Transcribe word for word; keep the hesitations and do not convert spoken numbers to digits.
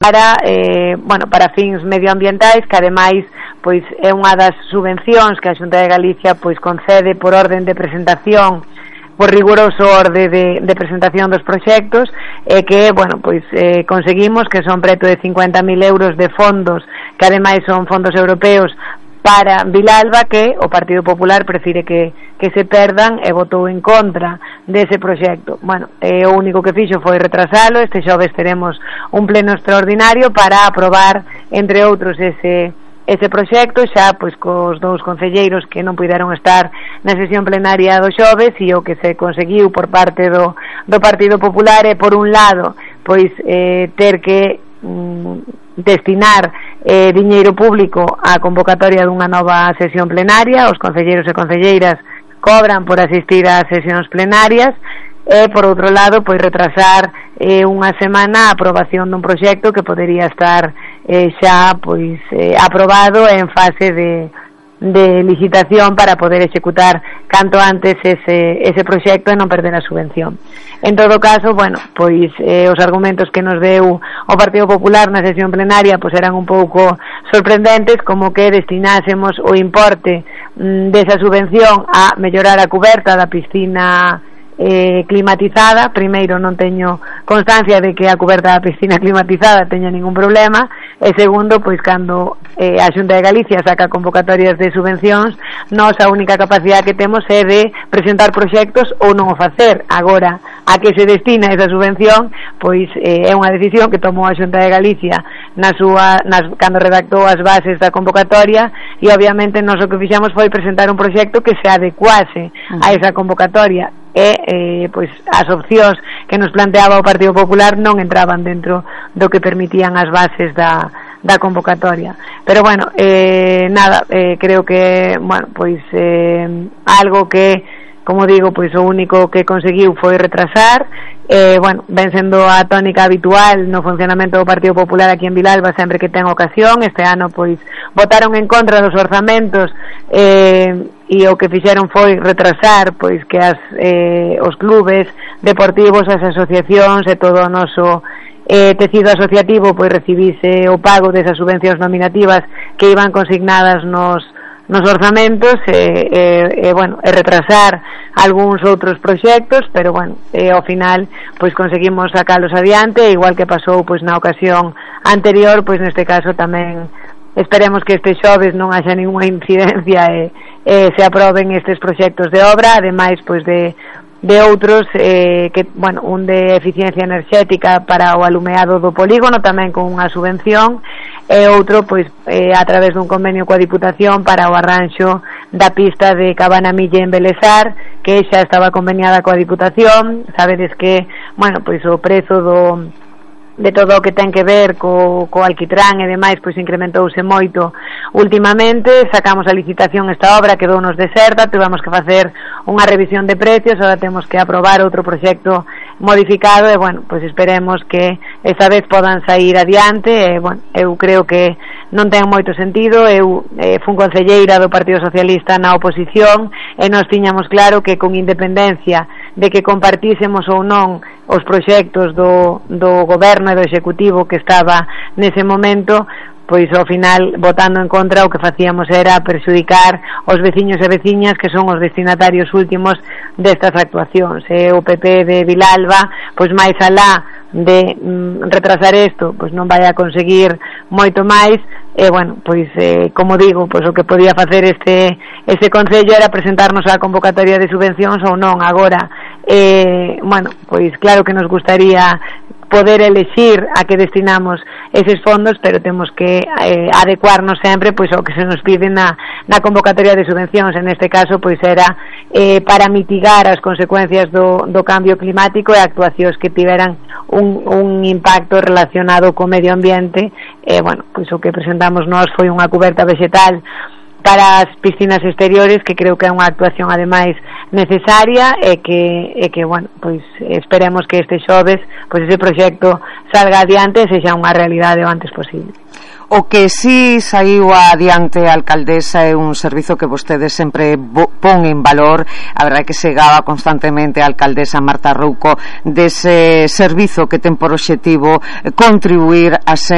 para, eh, bueno, para fins medioambientais, que ademais pois é unha das subvencións que a Xunta de Galicia pois concede por orden de presentación, por riguroso orde de, de presentación dos proxectos, e que, bueno, pois eh, conseguimos que son preto de cincuenta mil euros de fondos, que ademais son fondos europeos para Vilalba, que o Partido Popular prefire que, que se perdan e votou en contra dese proxecto. Bueno, eh, o único que fixo foi retrasalo. Este xoves teremos un pleno extraordinario para aprobar, entre outros, ese ese proxecto, xa pois cos dous concelleiros que non puideron estar na sesión plenaria do xoves, e o que se conseguiu por parte do, do Partido Popular é, por un lado, pois eh, ter que mm, destinar eh, diñeiro público á convocatoria dunha nova sesión plenaria. Os concelleiros e concelleiras cobran por asistir ás sesións plenarias, e por outro lado pois retrasar eh, unha semana a aprobación dun proxecto que podería estar eh, xa pois eh, aprobado en fase de, de licitación para poder executar canto antes ese, ese proxecto e non perder a subvención. En todo caso, bueno, pois eh, os argumentos que nos deu o Partido Popular na sesión plenaria pois eran un pouco sorprendentes, como que destinásemos o importe mm, desa subvención a mellorar a cuberta da piscina Eh, climatizada. Primeiro, non teño constancia de que a cuberta da piscina climatizada teña ningún problema, e segundo, pois cando eh, a Xunta de Galicia saca convocatorias de subvencións, nós a única capacidade que temos é de presentar proxectos ou non o facer. Agora, a que se destina esa subvención, pois eh, é unha decisión que tomou a Xunta de Galicia na súa, nas, cando redactou as bases da convocatoria, e obviamente nós o que fixemos foi presentar un proxecto que se adecuase a esa convocatoria, e eh, pois as opcións que nos planteaba o Partido Popular non entraban dentro do que permitían as bases da, da convocatoria. Pero bueno, eh, nada, eh, creo que, bueno, pois eh, algo que, como digo, pois o único que conseguiu foi retrasar. Eh, bueno, ven sendo a tónica habitual no funcionamento do Partido Popular aquí en Vilalba sempre que ten ocasión. Este ano pois votaron en contra dos orzamentos, eh, e o que fixeron foi retrasar pois que as, eh, os clubes deportivos, as asociacións e todo o noso eh, tecido asociativo pois recibise o pago desas subvencións nominativas que iban consignadas nos nos orzamentos, e, e, e, bueno, e retrasar algúns outros proxectos, pero bueno, e, ao final pois conseguimos sacalos adiante, igual que pasou pois na ocasión anterior. Pois neste caso tamén esperemos que este xoves non haxa ninguna incidencia e, e se aproben estes proxectos de obra, ademais pois de de outros eh, que, bueno, un de eficiencia enerxética para o alumeado do polígono tamén con unha subvención, e outro pois eh, a través dun convenio coa Diputación para o arranxo da pista de Cabanamille en Belesar, que xa estaba conveniada coa Diputación. Sabedes que, bueno, pois o prezo do de todo o que ten que ver co, co alquitrán e demais, pois incrementouse moito últimamente. Sacamos a licitación esta obra, quedounos deserta, tivemos que facer unha revisión de precios, agora temos que aprobar outro proxecto modificado, e bueno, pois esperemos que esta vez podan sair adiante. E bueno, eu creo que non ten moito sentido. Eu eh, fun concelleira do Partido Socialista na oposición, e nós tiñamos claro que con independencia de que compartísemos ou non os proxectos do, do goberno e do executivo que estaba nese momento, pois ao final, votando en contra, o que facíamos era perxudicar os veciños e veciñas que son os destinatarios últimos destas actuacións. E o P P de Vilalba, pois máis alá de mm, retrasar isto, pois non vai a conseguir moito máis. E bueno, pois eh, como digo, pois o que podía facer este este concello era presentarnos á convocatoria de subvencións ou non. Agora, eh, bueno, pois claro que nos gustaría poder elexir a que destinamos eses fondos, pero temos que eh, adecuarnos sempre pois ao que se nos pide na, na convocatoria de subvencións. En este caso pois era eh, para mitigar as consecuencias do, do cambio climático e actuacións que tiveran un, un impacto relacionado co medio ambiente. E eh, bueno, pois o que presentamos nós foi unha cuberta vegetal para as piscinas exteriores, que creo que é unha actuación ademais necesaria, e que, e que bueno, pois esperemos que este xoves pois ese proxecto salga adiante e sexa unha realidade o antes posible. O que si saiu adiante a alcaldesa é un servizo que vostedes sempre pon en valor. A verdade que se gaba constantemente a alcaldesa Marta Rouco dese servizo que ten por obxectivo contribuir a